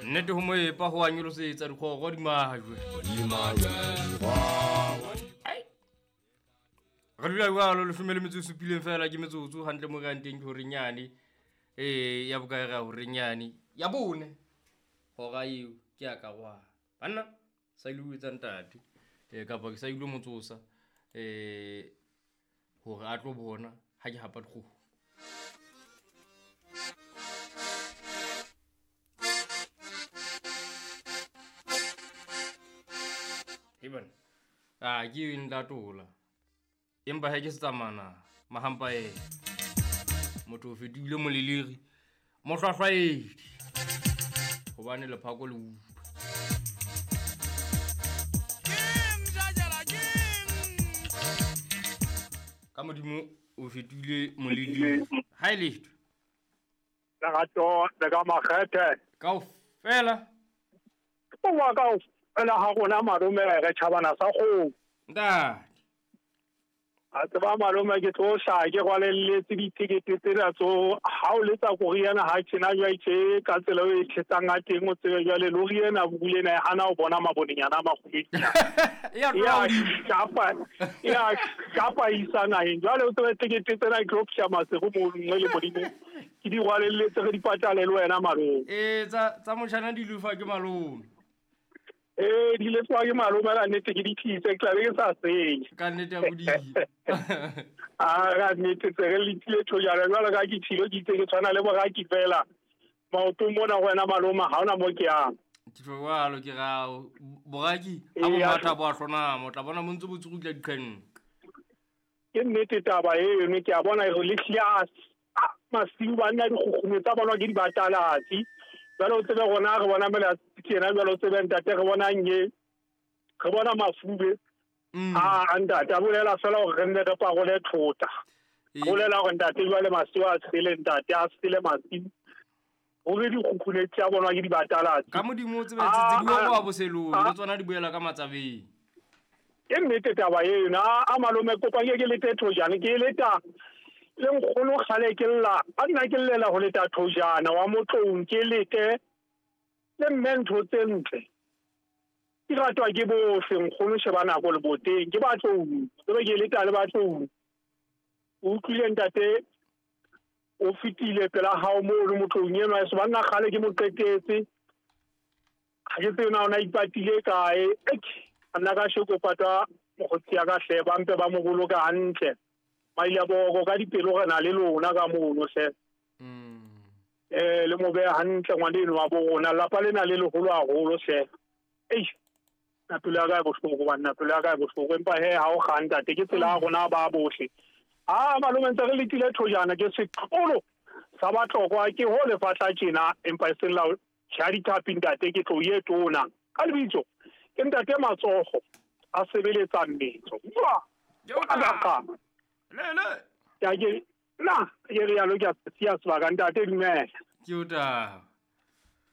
Nnete ho moepa ho a nyolosetsa dikgoro di majwe. Ai. Re dula jwalo 17 fela ke metsotso hantle mo re yang teng ke horeng yane. Ya bokae re ya horeng yane ya bone. Hora eo ke ya karohano. Banna sa ile ho etsa ntate kapa ke sa ile mo tsosa hore a tlo bona ha ke hapa dikgoho. Ebana a ke nlatola empa ha ke se tsamana mahampa ena motho o fetohile moleliri mohlwahlwaedi hobane lephako le utlwa. Ka modimo o fetohile moleliri ha e letho. Lerato le ka makgethe kaofela o wa kaofela ha rona malome re tjhabana sa kgomo. Ntate a tseba malome ke tlo hlaha ke rwalelletse ditekete tsena tso ha o letsa koriana ha tjena jwale tje ka tsela eo e thetsang ka teng o tsebe jwale lori ena bule ena e hana ho bona mabonenyana a makgubedu. Ya Ya shapa isa naheng. Jwale o tsebe tekete tsena ke tlo psha masego mo nngwe le modimo. Ke di rwalelletse re di patale le wena malome. Tsa motjhana di lefa ke malome. Di lefa ke malome la nnete ke di tlise, ke tla be ke sa senye. Ka nnete ya bodimo. A ka nnete tse re letlile thojana jwalo ka ke tshilo ke itse ke tshwana le boraki fela. Maotong mona ho wena malome ha hona mo ke yang. Ke jwalo ke rao boraki ha bo matha bo a hlonama o tla bona mo ntse bo tsukutla diqhenne. Ke nnete taba eno ke a bona e re le hlile a masiu banna dikgukgume tsa bona ke di batalatsi. Jwale o tsebe rona re bona mela tjena jwale o tsebe ntate re bona nye re bona mafube. A ntate a bolela fela hore re nne re parole thota. Bolela hore ntate jwale masiu a sele ntate a sele masiu. Hore dikgukgune tsa bona ke di batalatsi. Ka modimo o tsebe tse di wa boselong le tsona di boela ka matsabeng. Ke nnete taba eno a malome kopa ke lete thojana ke leta le nkgono kgale ke lla a nna ke llela ho leta thojana wa motloung ke lete le mme ntho tse ntle ke ratwa ke bohle nkgono sheba nako le boteng ke batloung tsebe ke leta le batloung. O utlwile ntate o fetile pela hao moo le motloung enwa se banna kgale ke mo qetetse ha ke tsebe na ona ipatile kae. A nna ka sheko patwa mokgotsi ya ka hle ba mpe ba mo boloka hantle. Maile boko ka dipelo re na le lona ka mono hle. Le mo beha hantle ngwaneno wa bo rona lapa lena le leholo haholo hle. Na pelo ya ka e bohloko banna pelo ya ka e bohloko empa he ha o kga ntate ke tsela ya rona ba bohle. A malome ntse re letile thojana ke seqolo sa batlokwa ke ho lefatla tjena empa e seng la tjha dithapi ntate ke tlo ye tona. Ka lebitso ke ntate matsogo a sebeletsa mmetso. Wa Le ke na ke re yalo ke a sia sebaka ntate dumela. Ke o taba.